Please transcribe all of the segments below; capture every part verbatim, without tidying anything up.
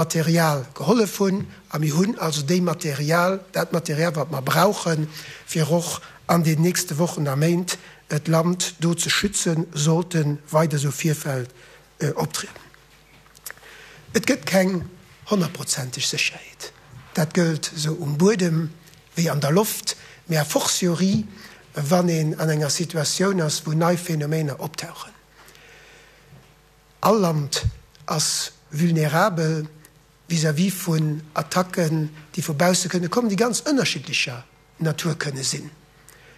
Material gehollef hunn a mir hunn also déi Material, dat Material wat mer brauchen, fir och an den nächste Wochen a Méint d'Land do ze schützen, sollte weider esou Virfäll optrieden. Et gëtt keng honnertprozenteg Sécherheet, dat gëllt esou um Buedem wéi an der Loft, mee a fortiori wann een an enger Situatioun ass, wou nei Phänomener optauchen. All Land ass vulnerabel vis-à-vis vun Attacken, déi vu bausse kënne kommen, déi ganz ënnerschiddlecher Natur kënne sinn.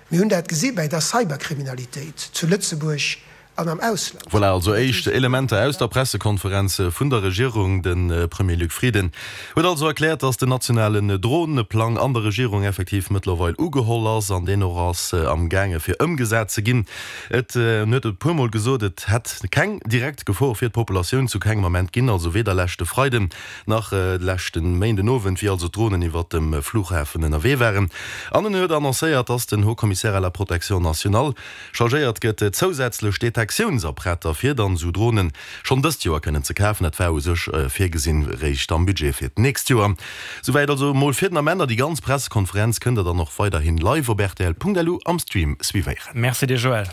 Mir hunn dat gesi bäi der Cyberkriminalitéit zu Lëtzebuerg an am Ausland. Voilà also éischt Elementer aus der Pressekonferenz vun der Regierung. De Premier Luc Frieden huet also erkläert, datt den nationalen Droneplang an der Regierung effektiv mëttlerweil ugeholl ass an deen och ass am gaange fir ëmgesat ze ginn. Et en huet e puer mol gesot, et hätt keng direkt Gefor fir d'Populatioun zu kengem Ament ginn, also weder leschte Freiden nach leschte Méinden Owend, wéi also d'Dronen iwwert dem Flughafen ënnerwee waren. An en huet annoncéiert, datt den Haut Commissaire à la protection nationale chargéiert gëtt, zousätzlech Detektiounsapparater fir dann esou Dronen schonn dëst Joer kënnen ze kafen. Dat war u sech virgesinn réischt am Budget fir d'nächst Joer. Souwäit also emol fir den Ament. A déi ganz Pressekonferenz kënnt der dann och weiderhin live op rtl.lu am Stream suivéieren. Merci dir Joël.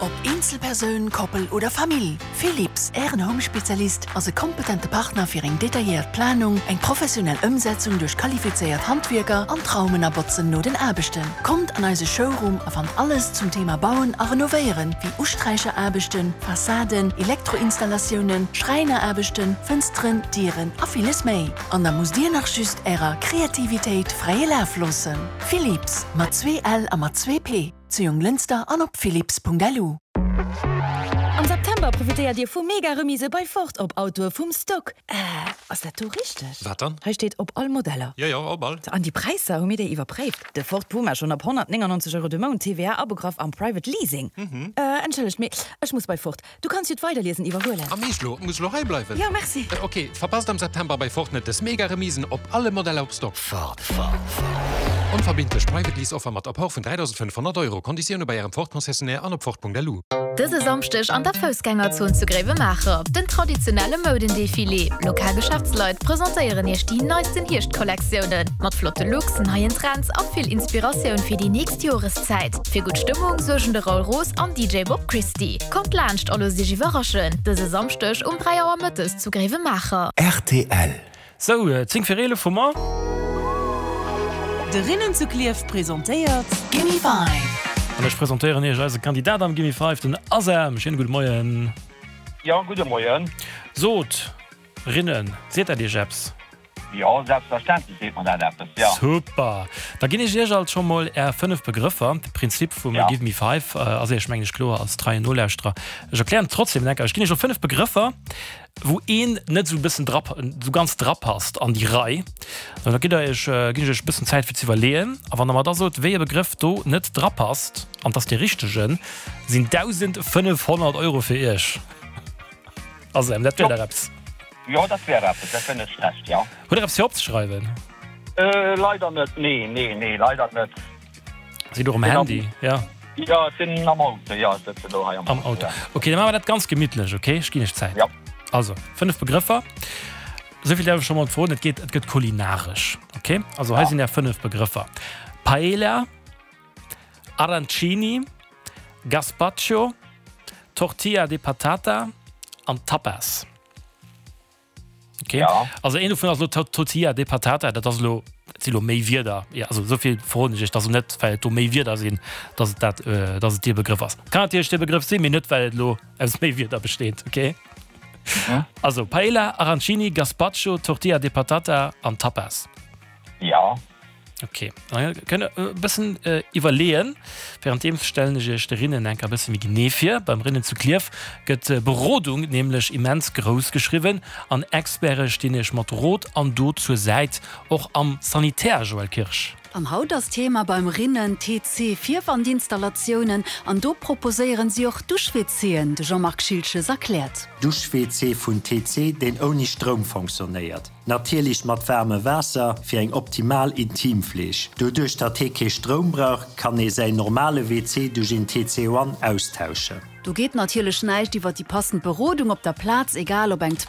Ob Eenzelpersoun, Koppel oder Famill, Philips, Ären Home-Spezialist, ass e kompetente Partner fir eng detailléiert Planung, eng professionell Ëmsetzung duerch qualifizéiert Handwierker an d'Raumen a Botzen no den Aarbechten. Kommt an eise Showroom a fannt alles zum Thema Bauen a Renovéieren, wéi Usträicheraarbechten, Fassaden, Elektroinstallatiounen, Schräineraarbechten, Fënsteren, Dieren a villes méi. An da musst Dir nach just Ärer Kreativitéit fräie Laf loossen. Philips, mat zwee L a mat zwee P, zu Jonglënster an op philips.lu. Am September profitéiert Dir vu mega Remise bei Ford op Autoe vum Stock. Äh, ass dat do richteg? Wat dann? Hei steet op all Modeller. Jo, jo, op all. An déi Präisser, hu mir déi iwwerpréift? De Ford Puma schonn ab honnertnéngannonzeg Euro de Mount, T V A abegraff am Private Leasing. Mhm. Äh, entschëllegt, mee ech muss bei Ford. Du kanns jo d'Weiderliesen iwwerhuelen. Am Eescht lo? Muss lo hei bleiwen? Jo, merci. Äh, ok, verpasst am September bei Ford net des mega Remisen op alle Modeller op Stock. Ford, Ford, Ford. Onverbindlech Private Lease Offer mat Apport vun dräidausendfënnefhonnert Euro. Konditioune bei Ärem Ford Concessionnaire an op Ford Punkt L U. Dëse Samschdeg an der Foussgängerzon zu Gréiwemaacher den traditionelle Moudendefilé. Lokal Geschäftsleit presentéieren iech déi neisten Hierschtkollektiounen. Mat flotte Looks, neien Trends a vill Inspiratioun fir déi nächst Joreszäit. Fir gutt Stëmmung suergen de Raoul Roos an D J Bob Christie. Kommt laanscht a loosst iech iwwerraschen. Dëse Samschdeg um dräi Auer mëttes zu Gréiwemaacher. R T L. Sou, zéng vir eelef hu mer. De Rinnen zu Klierf presentéiert Gimme Five. An ech presentéieren iech eise Kandidat am Gimme Five, den Asam. Schéine gudde Moien. Jo, gudde Moien. Sot, Rinnen, seet dat iech eppes? Jo, selbstverständlech seet mer dat eppes, jo. Super. Da ginn ech iech alt scho mol är fënnef Begrëffer. De Prinzip vum Ja. Give Me Five ass iech, mengen ech, kloer als treien Nolauschterer. Ech erklären et trotzdem enker. Ech ginn iech elo fënnef Begrëffer, wou een net sou e bëssen dra, sou ganz drapasst an déi Rei. An da gitt der iech, ginn ech iech e bëssen Zäit fir ze iwwerleeën. A wann der mer da sot, wéi e Begrëff do net drapasst, an 't ass dee richtegen, sinn dausendfënnefhonnert Euro fir iech. Asem, dat wär Jo. der eppes. Jo, dat wär eppes, dat wär net schlecht, jo. Hutt der eppes fir opzeschreiwen? Äh, leider net, nee, nee, nee, leider net. Sidd och um Sinn am- Handy, ja. Jo, ech sinn am Auto, jo, ech sëtzen do hei am Am Auto. ja. Okay, da maache mer dat ganz gemittlech, okay? Ech ginn iech Zäit. Ja. Also, fënnef Begrëffer. Souvill däerf ech scho mol verroden, et geet, et gëtt kulinaresch, okay? Also hei Ja. sinn är fënnef Begrëffer. Paella, Arancini, Gazpacho, Tortilla de Patata an Tapas. Okay. Ja. Also een dovun ass lo Tortilla de Patata, dat ass lo, dat si lo méi Wierder. Ja, also souvill verroden ech iech, dass net well et do méi Wierder sinn, dass et dat, äh, dass et dee Begrëff ass. Kann natierlech dee Begrëff sinn, mee net well et lo aus méi Wierder besteet, okay? Mhm. Also Paella, Arancini, Gazpacho, Tortilla de Patata an Tapas. Ja. Okay, da kënnt der e bëssen äh, iwwerleeën. Wärenddeem stellen ech iech de Rinnen enker e bësse méi genee vir. Beim Rinnen zu Klierf gëtt äh, Berodung nämlech immens grouss geschriwwen an Experte stinn iech mat Rot an Dot zur Säit, och am Sanitär, Joël Kirsch. An haut ass Thema beim Rinnen T C Vierwandinstallatiounen an do proposéieren si och Dusch-W Cen, de Jean-Marc Schilches erkläert. Dusch-W C vun T C, deen ouni Stroum funktionéiert. Natierlech mat waarmem Waasser fir eng optimal Intimfleeg. Doduerch datt hie kee Stroum brauch, kann ee säin normale W C duerch een T C One austauschen. Do geet natierlech näischt iwwer déi passend Berodung op der Plaz, egal ob eng